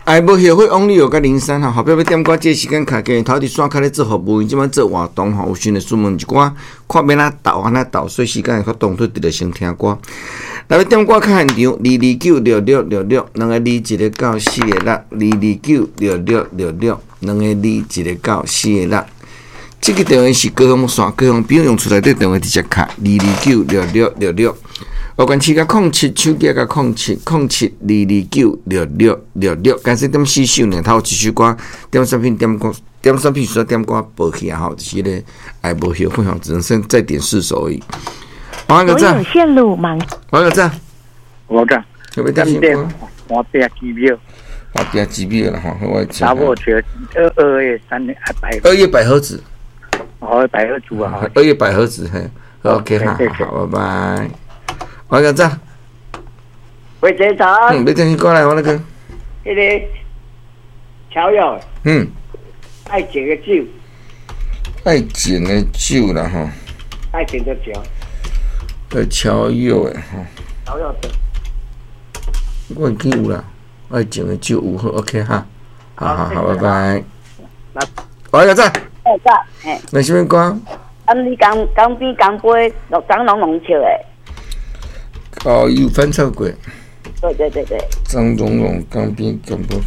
哎，無後悔王力友佮林珊吼，後壁欲點歌，這個時間卡起頭佇線跤咧做服務，因這擺做活動吼，有時會詢問一寡，看欲按怎鬥按怎鬥，所以時間會較當做直直先聽歌。來欲點歌較現場，2296666，兩個二一個九四個六，2296666，兩個二一個九四個六。這個電話是高雄線，高雄朋友用厝內底電話直接敲2296666。有關七佮空七，手機佮空七空七二二九六六六六，敢說點四首爾，頭一首歌點啥品點歌，點啥品說點歌報去啊吼，就是彼個愛無後悔吼，只能剩再點四首而已。黃個讚，線路忙。黃個讚，我講，有欲點什麼？我拼機票，我拼機票啦吼，我查某笑二二月三百，二月百合子，哦，百合子啊，二月百合子嘿，OK 哈，好，拜拜。黃個讚，喂，警察。嗯，欲點歌來，我那個。彼個喬友。愛情的酒。愛情的酒啦吼。愛情的酒。愛喬友的吼。喬友的。我會記有啦，愛情的酒有好，OK 哈，好好好，拜拜。黃個讚。哎，讚，嘿。那啥物歌？啊，你江江邊江杯，張龍龍唱的。哦，有翻唱過。對對對對。張榮榮江邊江杯，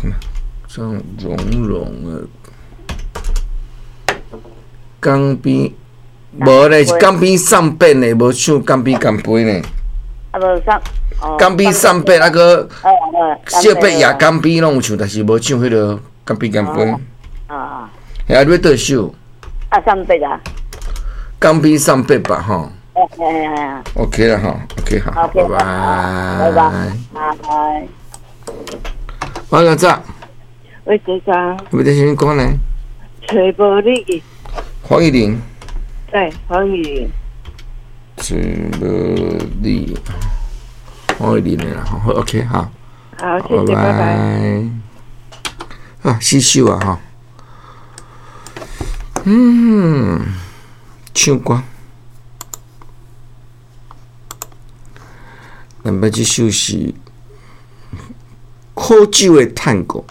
張榮榮的江邊，無咧，是江邊送別呢，無唱江邊干杯呢。啊，無送。江邊送別啊閣，小伯也江邊攏有唱，但是無唱彼個江邊干杯。啊。啊，你欲佗首？啊，送別啊。江邊送別吧，吼。哎 OK 啦，吼，OK 好，拜拜。拜拜，拜拜。黃個早。喂，警察。欲點啥物歌呢？揣無你。黃玉玲。對，黃玉玲。揣無你，黃玉玲的啦，好，OK 好。好，謝謝，拜拜。啊，四首啊，吼。唱歌。咱欲這首是苦酒的探戈。